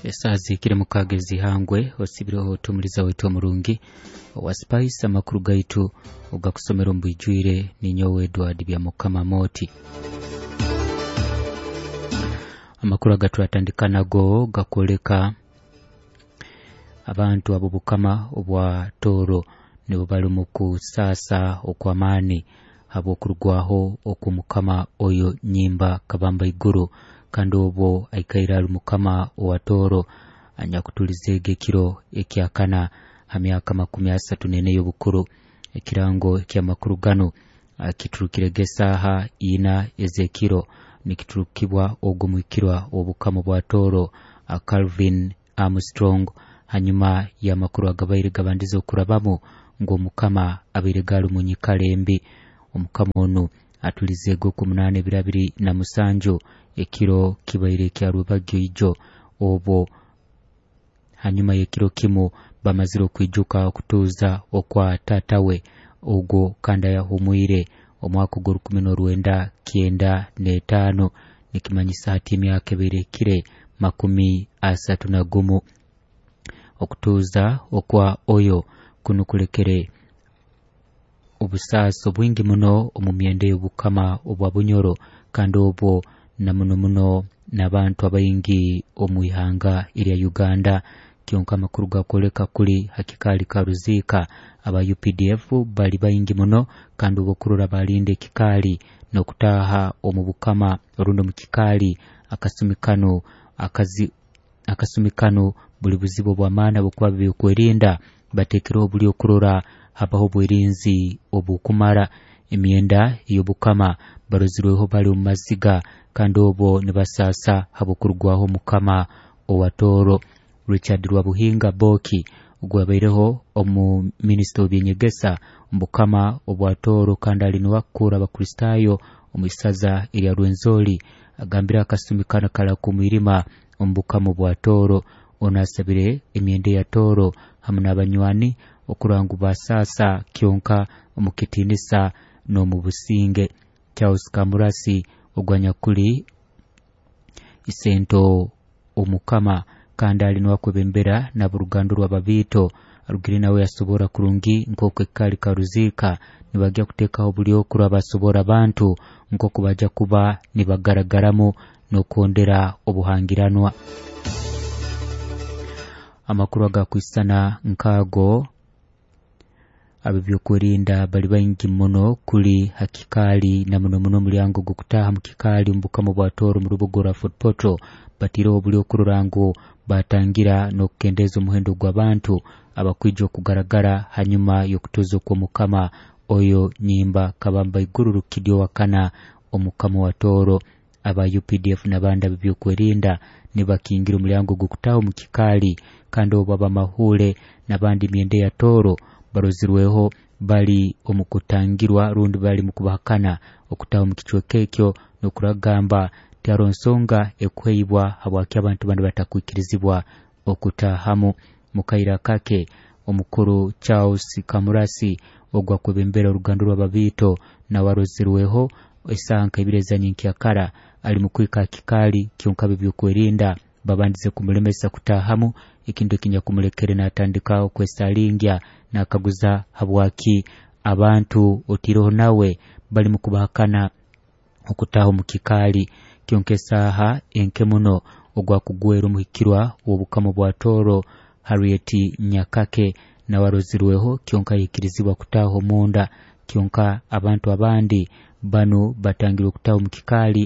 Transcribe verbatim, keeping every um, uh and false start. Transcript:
Esaaha zihikire mukaaga ez'ihangwe, osibireho tumuliza waitu omurungi owa Spice. Amakuru gaitu ogakusomera omu bwijwire ninyowe Edward Byamukama Moti. Amakuru agaturatandika nago gakwoleka abantu ab'obukama obwa Tooro nibo bali omu kusaasa okw'amaani habw'okurugwaho okw'omukama oyo Nyimba Kabamba Iguru, kandi obwo aikaire ali mukama owa Tooro anyakutulizeege ekiro ekyakana ha myaka makumi asatu n'ena ey'obukuru. Ekirango eky'amakuru ganu kiturukirege esaaha ina ez'ekiro, nikiturukibwa ogwo muhikirwa w'obukama bwa Tooro Calvin Armstrong, hanyuma y'amakuru agabaire gabandize okurabamu ngu omukama abaire gaali omu nyikara embi. Omukama onu atulizeege okwomunaana ebiro abiri na musanju, ekiro kibaire ekya rwebagyo ijo, obwo hanyuma y'ekiro kimu bamazire okwijuka okutuuza okwa taata we ogwo kandi ayahumwire omwaka ogw'orukumi n'orwenda kyenda n'etaano, nikimanyisa hati emyaka ebaire ehikire makumi asatu na gumu. Okutuuza okwa oyo kunu kulekere obusaasi obwingi muno omu myenda ey'obukama obwa Bunyoro, kandi obwo na muno muno n'abantu abaingi omu ihanga erya Uganda. Kyonka amakuru gakwoleka kuli ha kikaali ka Ruziika aba U P D F bali baingi muno, kandi obwokurora balinda ekikaali n'okutaaha omu bukama rundi omu kikaali akasumi kanu akazi akasumi kanu buli buzibu obw'amaani, habwokuba byokwerinda bateekereho buli okurora habaho obwerinzi obukumara. Emyenda ey'obukama barozirweho bali omu maziga, kandi obwo nibasaasa habw'okurugwaho omukama owa Tooro. Richard Rwabuhinga Boki, ogwabaireho omu minisita w'ebyenyegesa omu bukama obwa Tooro kandi ali nuwe akukura abakristaayo omu isaza erya Rwenzori, agambire akasumi kanu karakumwirima omu bukama obwa Tooro. Onu asabire emyenda ya Tooro hamu n'abanywani okurora ngu basaasa kyonka omu kitiinisa n'omu businge. Charles Kamurasi, ogwanyakuli isento omukama kandi ali nuwe akwebembera n'aboruganda orw'ababiito, arugire nawe yasobora kurungi nk'oku ekikaali ka Ruziika nibajya kuteekaho buli okurora basobora abantu nk'oku bajya kuba nibagaragaramu n'okwondera obuhangiranwa. Amakuru agakwisana nk'ago, ab'ebyokwerinda bali baingi muno kuli ha kikaali na muno muno omulyango gw'okutaaha mu kikaali omu bukama bwa Tooro mu rubuga orwa Fort Portal. Batiireho buli okurora ngu batangira n'okukendeeza omuhendo gw'abantu abakwija okugaragara hanyuma y'okutuuza okw'omukama oyo Nyimba Kabamba Iguru Rukidi owakana, omukama wa Tooro. Aba U P D F n'abandi ab'ebyokwerinda nibakingira omulyango gw'okutaaha omu kikaali, kandi obwo abamahuule n'abandi emyenda ya Tooro barozirweho bali omu kutangirwa rundi bali mu kubahakana okutaaha omu kicweka ekyo, n'okuragamba tiharoho nsonga ekuheibwa habwaki abantu banu batakwikirizibwa okutaahamu. Mu kaire akake, omukuru Charles Kamurasi, ogwo akwebembera oruganda rw'ababiito, nawe arozirweho esaaha nka ibiri ezanyenkyakara ali mu kwika ha kikaali, kyonka ab'ebyokwerinda babandize kumulemesa kutaahamu, ekintu ekinyakumulekere n'atandika okwesaalingya n'akaguza habwaki abantu otiireho nawe bali mu kubahakana okutaaha omu kikaali. Kyonka esaaha enke muno, ogwakugwera omuhikirwa w'obukama bwa Tooro Harriet Nyakake nawe arozirweho, kyonka yaikirizibwa kutaaha omunda. Kyonka abantu abandi banu batangirwe okutaaha omu kikaali.